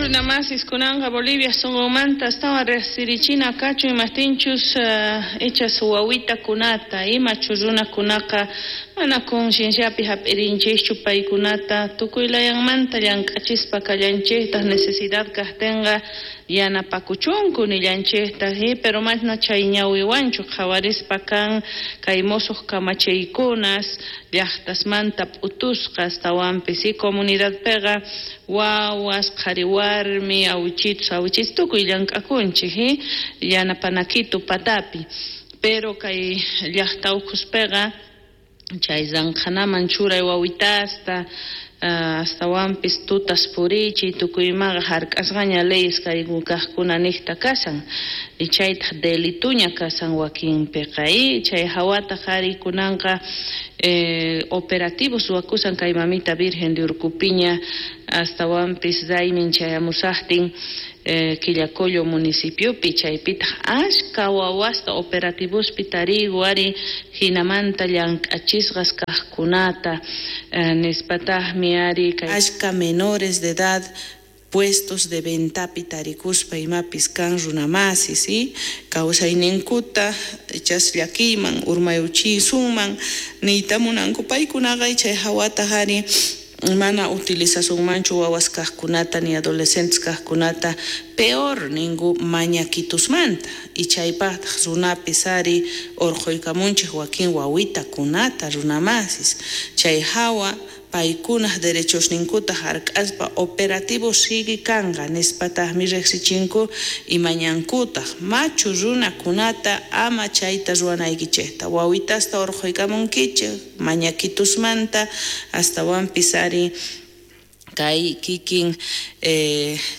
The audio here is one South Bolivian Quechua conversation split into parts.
Runamasis kunanqa Bolivia sunqunmanta astawan riqsirichina kachun imaqtinchus ichas wawitakunata imachu runakunaqa mana concienciapi hap'irinchikchu paykunata tukuy layanmanta llank'achispa kallanchiktaq necesidad kaqtinqa yanapakuchunku nillanchiktaq pero mana chay ñawiwanchu qhawarispa kan kay musuq kamachiykunas llaqtasmanta p'utusqa astawanpis comunidadpiqa wawas qhari warmi awichitus awichitus tukuy llank'akunchik yanapanakitu patapi pero kay llaqta ukhuspiqa chay ranqhanaman churay wawitasta astawanpis tutas purichiy tukuymaqa hark'asqaña leyes kay kaqkuna niqta kashan y chaytaq delituña kashan wakinpiqa chay hawataq ari kunanqa operativos ruwakushan kay Mamita Virgen de Urcupiña astawanpis raymin chayamusaqtin Quillacollo municipiopi chaypitaq ashka wawasta operativospi tarigu ari hinamanta llank'achisqas kaqkunata nispataqmi ari kay ashka menores de edad puestos de ventapi tarikuspa imapis kan runamasis kawsayninkuta ichas llakiyman urmayuchisunman niyta munanku paykunaqa chay hawataq ari mana utilizasunmanchu wawas kaqkunata ni adolescentes kaqkunata peor ninku mañakitusmanta y chaypaqtaq runapis ari urquykamunchik wakin wawitakunata runamasis chay hawa paykunaq derechosninkuta hark'aspa operativo sigue kanqa nispataqmi riqsichinku imañankutaq machu runakunata ama chayta ruwanaykichikta wawitasta urquykamunkichik mañakitusmanta astawanpis ari kay kikin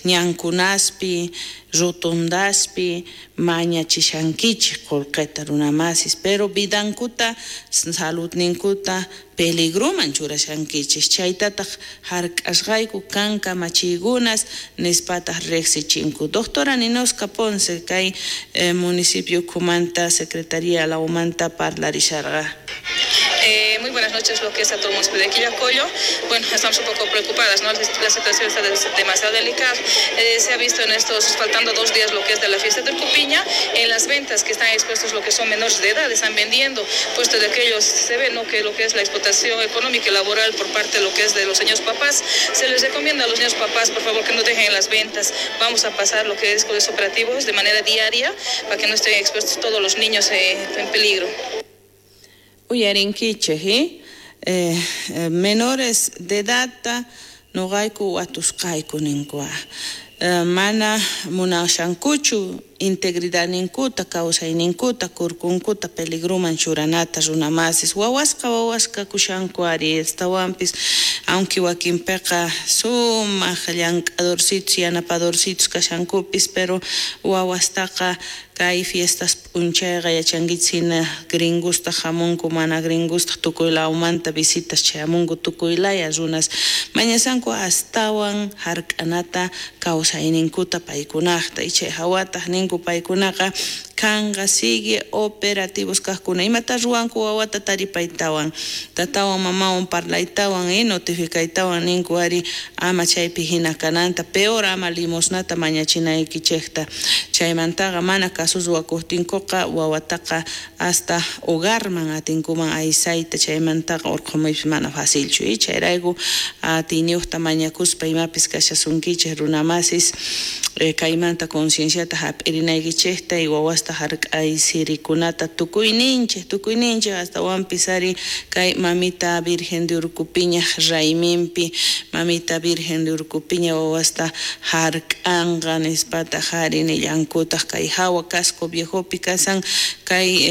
ñankunaspi rotondaspi mañachishankichik qullqita runamasis pero vidankuta saludninkuta peligroman churashankichik chaytataq hark'asqayku kan kamachiykunas nispataq riqsichinku. Doctora Ninoska Ponce kay municipio ukhumanta secretaría lawmanta parlarisharqa. Muy buenas noches, lo que es a todo el municipio de Quillacollo. Bueno, estamos un poco preocupadas, ¿no? La situación está demasiado delicada. Se ha visto en estos, faltando 2 días lo que es de la fiesta de Urcupiña, en las ventas que están expuestos lo que son menores de edad, están vendiendo, puesto de aquellos se ve, ¿no?, que lo que es la explotación económica y laboral por parte de lo que es de los señores papás. Se les recomienda a los señores papás, por favor, que no dejen las ventas. Vamos a pasar lo que es con los operativos de manera diaria para que no estén expuestos todos los niños en peligro. Uyarinkichik, menores de edad noqayku watusqayku ninkua mana munashankuchu integridadninkuta kawsayninkuta kurkunkuta peligroman churanata runamasis wawasqa wawasqa kushanku ari astawanpis aunque wakinpiqa sumaq llank'adorcitos yanapadorcitos kashankupis pero wawastaqa kay fiestas p'unchayqa yachankichik hina gringusta hamunku mana gringusta tukuy lawmanta visitas chayamunku tukuy laya runas mañasanku astawan hark'anata kawsayninkuta paykunaqta y chay hawataq ninku paykunaqa kanqa sigue operativos kaqkuna imata ruwanku wawata taripaytawan tatawan mamawan parlaytawan notificaytawan ninku ari ama chaypi hina kananta peor ama limosnata mañachinaykichikta chaymantaqa mana caso ruwakuqtinkuqa wawataqa hasta hogarman atinkuman aysayta chaymantaqa urqumuypis mana facilchu chayrayku atiyniyuqta mañakuspa imapis kashasunkichik runamasis kaymanta concienciata hap'irinaykichikta y wawasta hark'aysirikunata tukuyninchik astawanpis ari kay Mamita Virgen de Urcupiña rayminpi Mamita Virgen de Urcupiña wawasta hark'anqa nispataq ari nillankutaq kay hawa Casco Viejopi kasan kay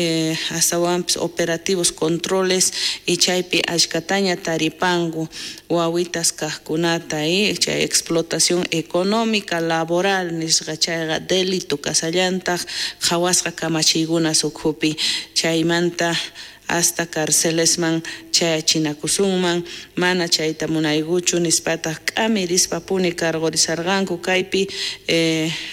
astawanpis operativos controles y chaypi ashkataña taripanku wawitas kaqkunata chay explotación económica laboral nisqa chayqa delito kasallantaq qhawasqa kamachiykunas ukhupi chaymanta hasta carcelesman chayachinakusunman mana chayta munaykuchu nispataq k'amirispapuni cargorisarqanku kaypi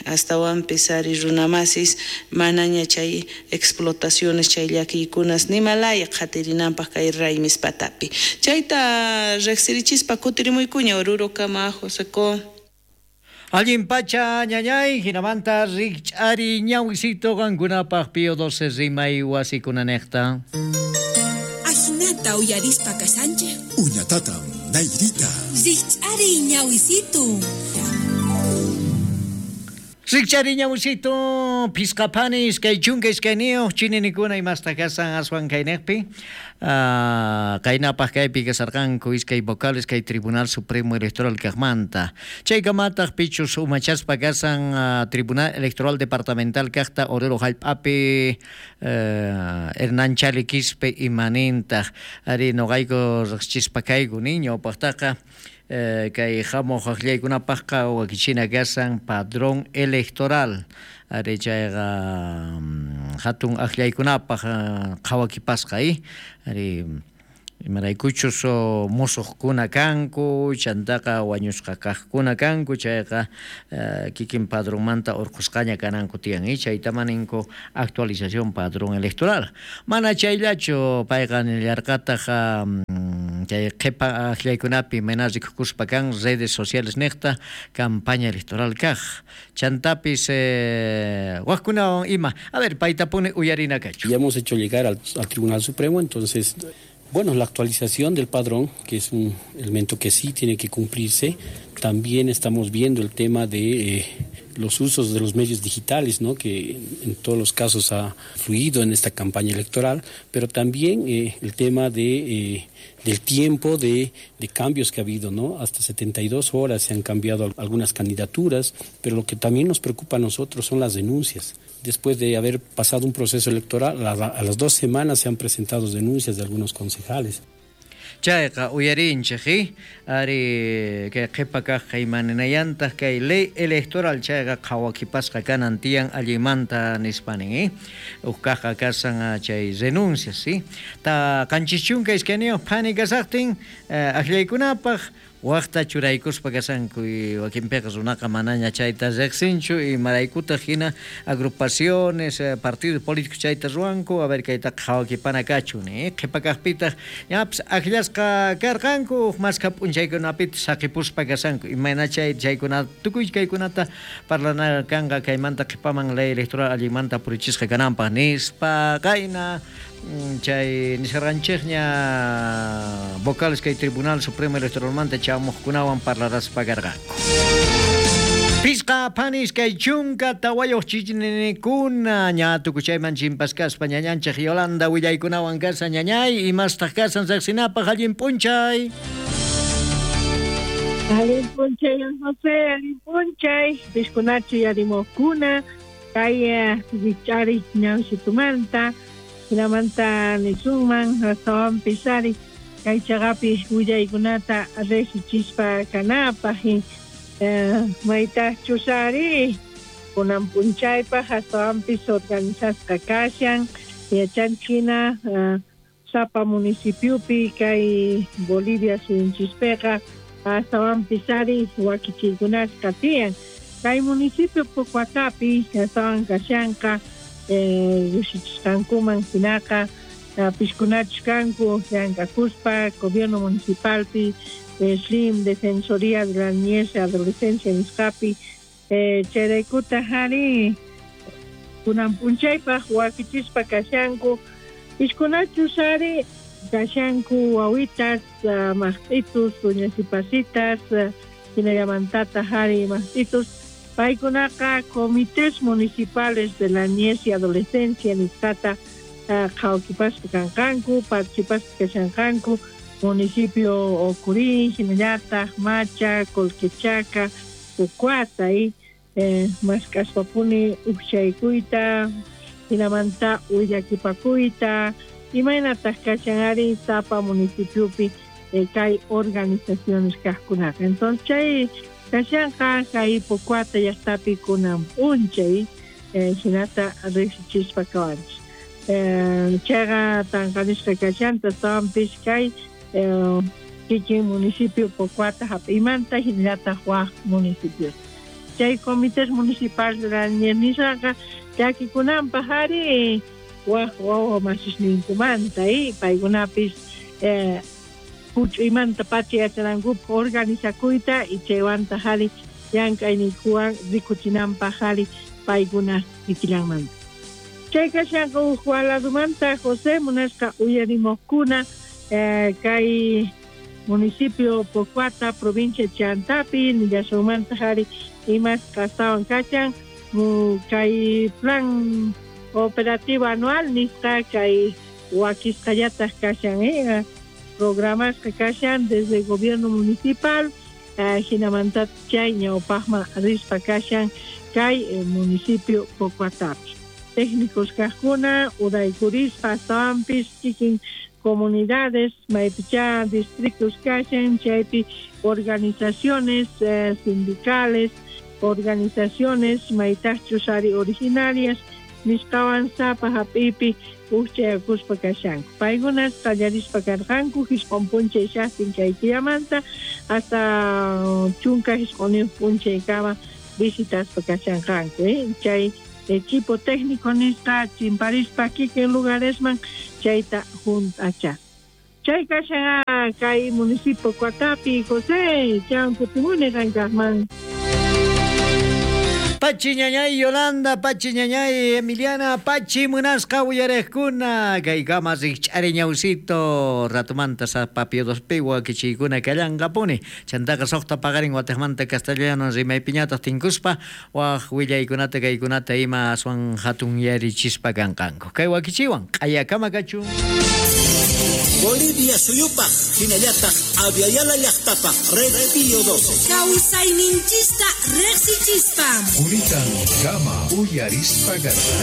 astawanpis ari runamasis manaña chay explotaciones chay llakiykunas nimalaya qhatirinanpaq kay raymis patapi chayta riqsirichispa kutirimuykuña Oruro kama Joseco. Allin pacha ñañay, hinamanta rikch'ari ñawisito qankunapaq Pío 12 rimay wasikunanejta. Ajinata uyarispa kasanchej. Uñatatam, Nairita. Rikch'ari ñawisito. Rikchari ñawisito, pisqapani 22 chininikuna imasta kasan aswan kaynejpi. Kaynapaq kaypi kasarqanku iskay vocales kay Tribunal Supremo Electoral kaqmanta. Chaykamataq pichus umachaspa kasan Tribunal Electoral Departamental kaqta Oruro hallp'api Hernán Chali Quispe imanintaq. Ari noqayku riqsichispa kayku ñawpaqtaqa kay hamuq aqllaykunapaqqa wakichina kasan padrón electoral. Ari chayqa hatun aqllaykunapaq qhawakipasqa ari imaraykuchus musuqkuna kanku chantaqa wañusqa kaqkuna kanku chayqa kikin padronmanta urqusqaña kananku tiyan chaytama ninku actualización padrón electoral. Mana chayllachu payqa nillarqataq chay qhipa aqllaykunapi mana rikukuspa kan redes sociales niqta campaña electoral kaq chantapis waqkunawan ima. A ver, paytapuni uyarina kachu. Ya hemos hecho llegar al Tribunal Supremo, entonces bueno, la actualización del padrón, que es un elemento que sí tiene que cumplirse. También estamos viendo el tema de los usos de los medios digitales, ¿no?, que en todos los casos ha fluido en esta campaña electoral, pero también el tema de, del tiempo de cambios que ha habido, ¿no? Hasta 72 horas se han cambiado algunas candidaturas, pero lo que también nos preocupa a nosotros son las denuncias. Después de haber pasado un proceso electoral, a las 2 semanas se han presentado denuncias de algunos concejales. Chayqa uyarinchej ari kay qhipa kaq imaninayantaq kay ley electoral chayqa qhawakipasqa kanan tiyan allimanta nispanin uj kaqqa kasan chay renuncias ta 72 phani kasaqtin aqllaykunapaq waqta churaykuspa kasanku wakinpiqa runaqa manaña chayta riqsinchu imaraykutaq hina agrupaciones partidos políticos chayta ruwanku a ver kaytaqa qhawakipana kachun qhipa kaqpitaq ñapis aqllasqa karqanku maskha p'unchaykunapitaq saqipuspa kasanku imayna chay chaykuna tukuy kaykunata parlana kanqa kaymanta qhipaman ley electoral allinmanta purichisqa kananpaq nispa qayna chay nisharqanchikña vocales kay Tribunal Supremo Electoralmanta chamuqkunawan parlaraspa karqanku. Pisqa panis kay 14 chichninikuna ña tukuchayman chimpaskaspa ñañanchik Yolanda willaykunawan kasan ñañay imastaq kasan riqsinapaq allin p'unchay. Allin p'unchay José, allin p'unchay piskunachu yarimuqkuna kay richari ñawsitumanta hinamanta nisunman astawanpis ari kay chaqapi willaykunata riqsichispa kanapaq maytaqchus ari kunan p'unchaypaq astawanpis organizasqa kashan yachanchik sapa municipiopi kay Bolivia suyunchispiqa astawanpis ari wakichiykunasqa tiyan kay municipio Pocoatapi astawan kashanqa llushichisqankuman hinaqa piskunachus kanku llank'akuspa gobierno municipalpi SLIM Defensoría de la Niñez y Adolescencia nisqapi chayraykutaq ari kunan p'unchaypaq wakichispa kashanku piskunachus ari kashanku wawitas maqt'itus uñasipasitas hinallamantataq ari maqt'itus paykunaqa comités municipales de la niñez y adolescencia nisqata qhawakipaspa kanqanku participaspa kashanqanku municipio Ocurí, hinallataq Macha, Colquechaca, Pocoata mask'aspapuni ukchaykuyta hinamanta willakipakuyta imaynataq kashan ari sapa municipiopi kay organizaciones kaqkunaqa. Entonces chay kashanqa kay Pocoata llaqtapi kunan p'unchay hinata riqsichispa kawanchik. Chayqa tanqanisqa kashanta astawanpis kay kikin municipio Pocoata hap'imanta hinallataq waq municipios. Chay comités municipal de la niñez nisqaqa llakikunanpaq ari waq wawa masisninkumanta paykunapis huch'uymanta pacha yachanankupaq organizakuyta y chaywantaq ari llank'ayninkuwan rikuchinanpaq ari paykuna kikillanmanta. Chay kashanqa huk waladumanta José munasqa uyarimuqkuna kay municipio Pocoata, provincia Chantapi, nillasunmanta ari imas kastawan kachan kay plan operativo anual nisqa kay wakisqallataq kashan programasqa kashan desde el gobierno municipal hinamanta chay ñawpaqman rispa kashan kay municipio Pocoatapi. Técnicos kaqkuna uraykurispa astawanpis kikin comunidades maypicha distritos kashan chaypi organizaciones sindicales, organizaciones maytaqchus ari originarias nisqawan sapa hap'ipi ujchayakuspa kashanku. Paykunas qallarispa karqanku jisq'un p'unchay shaqtin kay killamanta hasta 19 p'unchaykama visitaspa kashanqanku. Chay equipo técnico nisqa chimparispa kikin lugaresman chayta junt'acha. Chay kashan kay municipio Pocoatapi, José, chan kutimuni qankaqman. Pachi ñañay Yolanda, Pachi ñañay Emiliana, Pachi munasqa uyarejkuna, kaykama rikch'ari ñawsito, ratumanta sapapio dospi wakichiykuna kallanqapuni, chantaqa suqta paqarin wataqmanta castellano rimaypiñataq tinkuspa, waq willaykunata kaykunata ima aswan hatun yarichispa kanqanku. Kay wakichiwan, q'ayakama kachun. Bolivia suyupaq, hinallataq Aviala llaqtapaq, Red Pío 12. Kawsayninchista riqsichispa. Juritan kama uyarispa.